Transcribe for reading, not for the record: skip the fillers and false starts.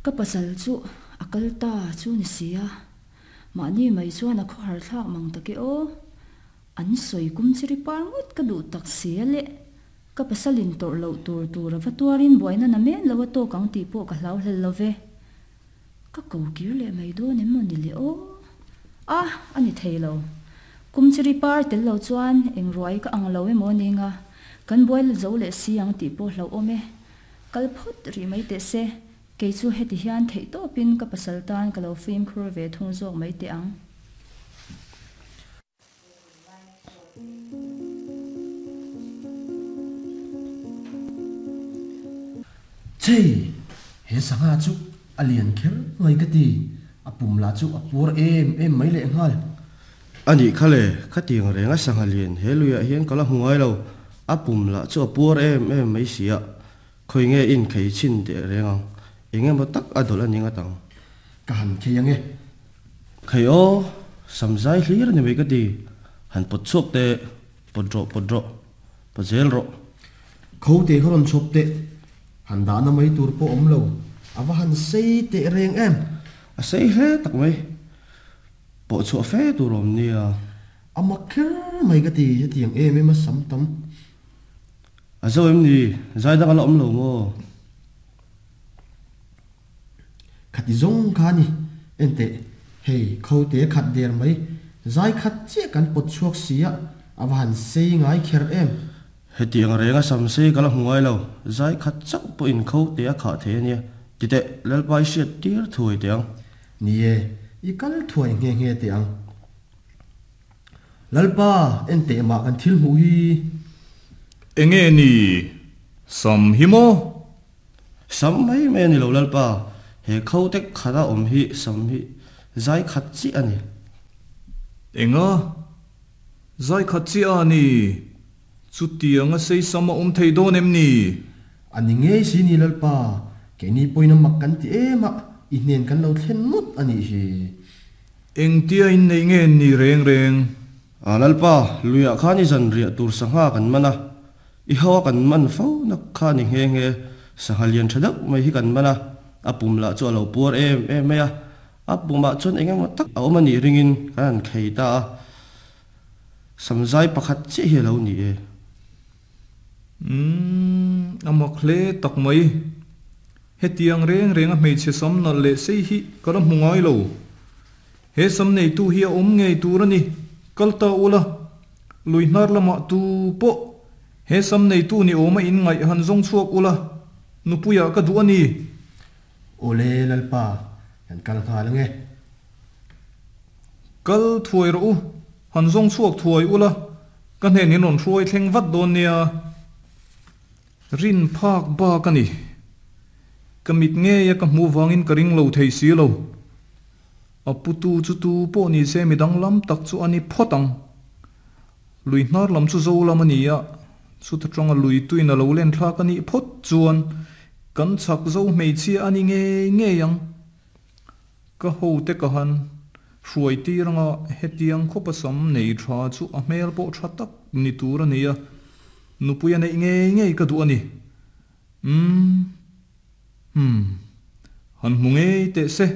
Ka pasal chu a kal ta chu ni si a, mahni mai chuan a khawhar thlak mang tak e aw. An sawi kum chiri par ngawt ka duh tak si a le. Ka pasal in tawrh loh tur tur a va tuarin buaina na men lo a tawk ang tih pawh ka hlau hlel lo ve. Ka ko kir leh mai dawn em maw ni le aw? A, a ni thei lo. Kum chiri par tel lo chuan eng ruai ka ang lo emaw ning a, kan buai la zo leh si ang tih pawh hlauhawm e. Kal phawt rih mai teh se, kei chu heti hian theih tawpin ka pasal tan ka lo fimkhur ve thung zawk mai teh ang. Chei! He sangha chu a lian kher mai ka ti, a pum lah chu a puar em em mai lehnghal. A nih kha le, khatiang renga sangha lian he luiah hian ka la hmu ngai lo, a pum lah chu a puar em em mai si a, khawi nge in khei chhin teh reng ang, eng emaw tak a dawlh a ni ngat ang. Ka han khei ang e. Khei aw, sam zai hlir a ni mai ka ti, han pawt chhuak teh, pawt rawh pawt rawh, pawt zel rawh. Kho teh kha rawn chhawp teh, han dahna mai tur pawh awm lo, a va han sei teh reng em. A sei hle tak mai, pawh chhuah fe tur awm nia. A mak kher mai ka ti, hetiang em em a sam tam. A zo em ni, zai dang a la awm lo maw? Khati zawng kha a ni. Enteh, hei khote khat der mai, zai khat chiah kan pawt chhuak si a, a va han sei ngai kher em? Hetiang renga sam sei ka la hmu ngai lo, zai khat chauh pawhin khote a khah thei a nia. Titeh, Lalpa i hriat tir thuai teh ang. Ni e, i kal thuai nghe nghe teh ang. Lalpa, enteh mah kan thil hmuh hi. Enge ni? Sam hi maw? Sam mai mai a ni lo Lalpa, he kho tek khata awm hi sam hi zai khat chiah a ni. Enga? Zai khat chiah a ni? Chutiang a sei sam a awm thei dawn em ni? A ni ngei si ni Lalpa, keini pawhin a mak kan ti em a, i hnen kan lo thlen ngawt a nih hi. Engtia inneih nge ni reng reng? A Lalpa, luiah khan i zanriah tur sangha kan man a, I ho a kan man fo nak kha ni nghe nghe, sangha lian tha deuh mai hi kan man a, a pum lah chu a lo puar em em mai a, a pumah chuan eng emaw tak a awm a nih ringin kan han khei ta a, samzai pakhat chiah hi a lo ni e. Umm, a mak hle tak mai. Hetiang reng reng a hmeichhe sam nalh leh sei hi ka la hmu ngai lo. He sam neitu hi a awm ngei tur a ni, kal ta ula. Lui hnar lamah tu pawh he sam neitu ni awma in ngaih han zawng chhuak ula, nupuiah ka duh a ni. Awle Lalpa, kan kal nghal ange. Kal thuai rawh u, han zawng chhuak thuai ula, ka hnen in rawn hruai thleng vat dawn nia. Rin phak bak a ni. Ka mit ngeia ka hmuh vangin ka ring lo thei si lo. A putu chu tu pawh ni se mi danglam tak chu a ni phawt ang. Lui hnar lam chu zo lam a ni a, chuta tanga lui tuin a lo len thlak a nih phawt chuan kan chhak zo hmeichhia a ni ngei ngei ang. Ka hote ka han hruai tir anga hetiang khawpa sam nei tha chu a hmel pawh tha tak ni tur a ni a, nupui a neih ngei ngei ka duh a ni. Umm. Umm. Han hmu ngei teh se.